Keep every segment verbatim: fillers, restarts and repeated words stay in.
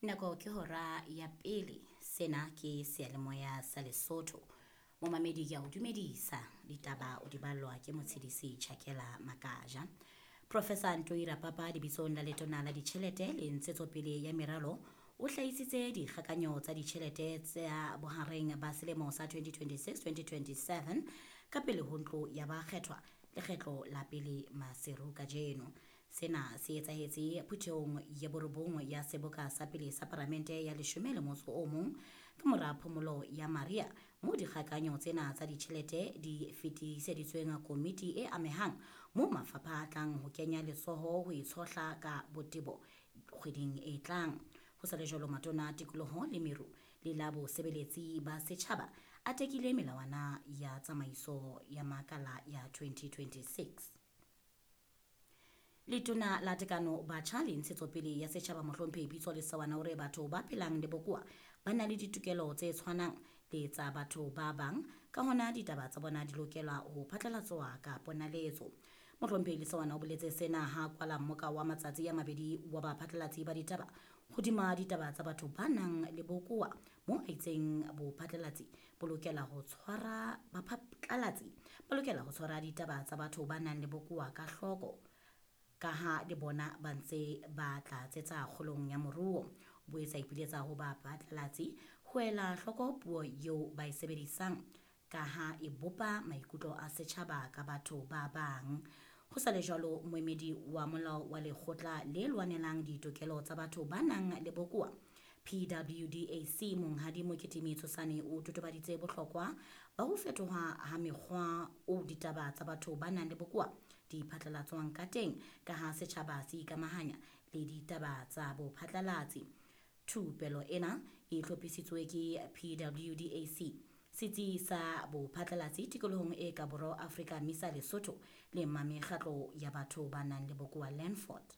Nako ke hora ya pele. Sena ke seyalemoya sa Lesotho. Momamedi ke a o dumedisa. Ditaba o di ballwa ke Motshedisi Chakela Makaja. Professor Ntoi Rapapa lebitsong la Letona la Ditjhelete le Ntshetsopele ya Meralo o hlahisitse dikgakanyo tsa ditjhelete tsa bohareng ba selemo sa twenty twenty-six twenty twenty-seven ka pele ho ntlo ya bakgethwa lekgetlo la pele Maseru kajeno. Sena se etsahetse phuthehong ya borobong ya seboka sa pele sa paramente ya leshome le motso o mong ka mora phomolo ya Maria, moo dikgakanyo tsena tsa ditjhelete di fetiseditsweng komiti e amehang, moo mafapha a tlang ho kenya letsoho ho e tshohla ka botebo kgweding e tlang. Ho sa le jwalo, matona a tikoloho le meru le la bosebeletsi ba setjhaba a tekile melawana ya tsamaiso ya makala ya twenty twenty-six. Letona la Tekano Batjha le Ntshetsopele ya Setjhaba Mohlomphehi Pitso Lesawana o re batho ba phelang le bokowa ba na le ditokelo tse tshwanang le tsa batho ba bang, ka hona ditaba tsa bona di lokela ho phatlalatswa ka ponaletso. Mohlomphehi Lesawana o boletse sena ha kwala mmoka wa matsatsi a mabedi wa baphatlalatsi ba ditaba hodima ditaba tsa batho ba nang le bokowa, moo a itseng bophatlalatsi bo lokela ho tshwara baphatlalatsi ba lokela ho tshwara ditaba tsa batho ba nang le bokowa ka hloko, ka ha le bona ba ntse ba tlatsetsa kgolong ya moruo. O boetse a ipiletsa ho baphatlalatsi ho ela hloko puo eo ba e sebedisang, ka ha e bopa maikutlo a setjhaba ka batho ba bang. Ho sa le jwalo, moemedi wa molao wa lekgotla le lwanelang ditokelo tsa batho ba nang le bokowa P W D A C Monghadi Moketimi Tshosane o totobaditse bohlokwa ba ho fetoha ha mekgwa o ditaba tsa batho ba nang le bokowa di phatlalatswang ka teng, ka ha setjhaba se ikamahanya le ditaba tsa bophatlalatsi. Thupelo ena e hlophisitswe ke P W D A C, setsi sa bophatlalatsi tikolohong e ka borwa Afrika Misa Lesotho le mekgatlo ya batho ba nang le bokowa Landford.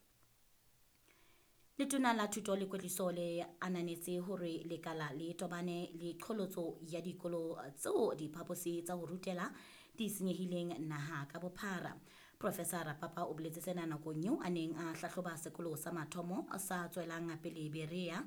Letona la Thuto le Kwetliso le ananetse hore lekala le tobane le qholotso ya dikolo tseo diphaposi tsa ho rutela di senyehileng naha ka bophara. Professor Rapapa o boletse sena nakong eo a neng a hlahloba sekolo sa mathomo sa tswelang pele Berea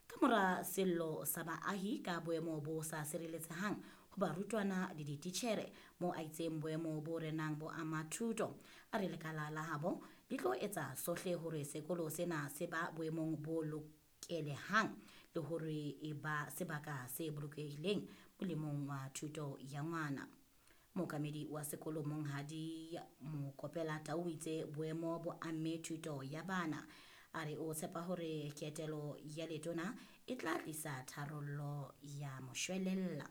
ka mora sello sa baahi ka boemo bo sa sireletsehang ho barutwana le dititjhere, moo a itseng boemo bo renang bo ama thuto. A re lekala la habo le tlo etsa sohle hore sekolo sena se ba boemong bo lokelehang le hore e ba sebaka se bolokehileng molemong wa thuto ya ngwana. Mookamedi wa sekolo Monghadi Mokopela Tau o itse boemo bo amme thuto ya bana. A re o tshepa hore ketelo ya letona e tla tlisa tharollo ya moshwelella.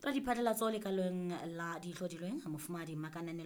Radiphatlalatso lekaleng la dihlodilweng Mofumahadi Makananelo